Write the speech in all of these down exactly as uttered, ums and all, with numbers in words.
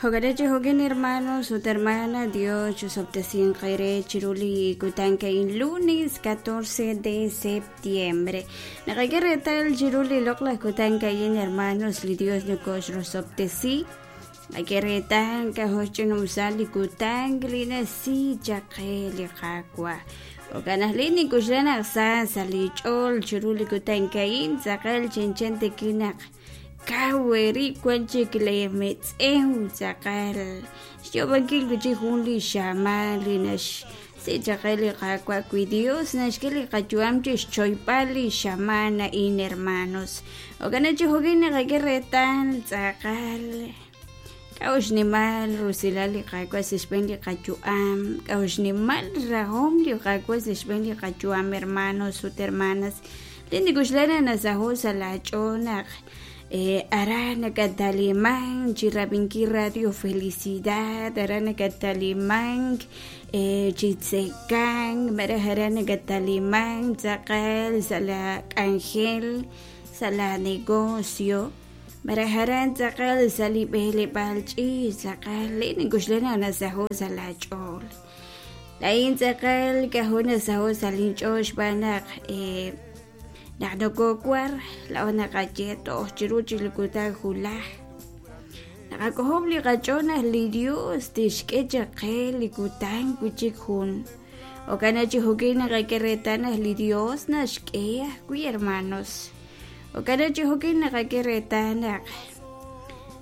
Jo'kan jo'kan hermanos ut hermana, Dios chusob'tesinq eere chiru li kutan ka'in lunes catorce de septiembre. Naqak'e reetal chiru li loq'laj kutan ka'in, hermanos, li Dios nokoxrosob'tesi. Naqak'e reetal k'ajo' li kutan li nasi chaq qe li Qaawa'. Jo'kan aj li nink'oxla naq sa sa' li ch'ool chiru li kutan ka'in tz'aqal chanchan tawi' naq kaw eerib' wan chik leemetz'ew tz'aqal xyoob'ankil wi' chik jun li xamaan li naxsi chaq qe li Qaawa' wi Dios naxk'e li qayu'am chixchoyb'al li xamaan a'in, hermanos. Jo'kan chi jo'kan naqak'e reetal tz'aqal k'a'u xnimal rusilal li Qaawa' sa' xb'een li qayu'am, k'a'u xnimal rajom li Qaawa' sa' xb'een li qayu'am, hermanos ut hermanas. Li nik'oxla nasaho' sa' laach'ool naq aran nakatalimank chi rab'inkil Radio Felicidad, aran nakatalimank chi tzekank, malaj aran nakatalimank tz'aqal sa' la k'anjel, sa' la negocio, malaj aran tz'aqal sa' li b'eleb'aal ch'iich' tz'aqal li nink'oxla naq nasaho' sa' laach'ool. Laa'in tz'aqal k'ajo' nasaho' sa' linch'ool xb'aan naq naq nokowar laa'o naqaye toj chiru chik li kutan julaj. Naqak'ojob' li qach'ool naq li Dios tixk'e chaq qe li kutan wi' chik jun. Jo'kan chi jo'kan naqak'e reetal naq li Dios naxk'e ajwi', hermanos. Jo'kan chi jo'kan naqak'e reetal naq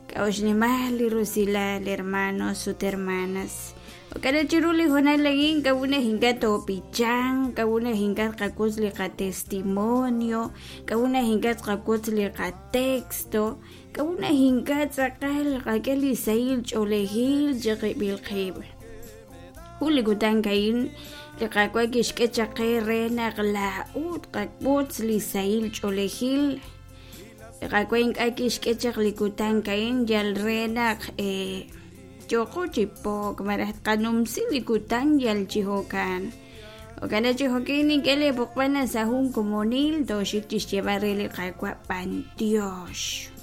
k'a'u xnimal li rusilal, hermanos ut hermanas. Jo'kan chiru li hoonal a'in k'a'u naq ink'a' toob'ichanq, k'a'u naq ink'a' tqak'ut li qatestimonio, k'a'u naq ink'a' tqak'ut li qatexto, k'a'u naq ink'a' tz'aqal qak'e li sahil ch'oolejil chiqib'il qib'. Jun li kutan ka'in li Qaawa' kixk'e chaq qe re naq laa'ut qak'ut li sahil ch'oolejil. Li Qaawa' ink'a' kixk'e chaq li kutan ka'in yal re naq yooqo chi pook malaj tqanumsi li kutan yal chi jo'kan. Jo'kan chi jo'kan nink'e leeb'oqb'al sa' jun komonil tooxik chixyeeb'al re li Qaawa' b'antiox.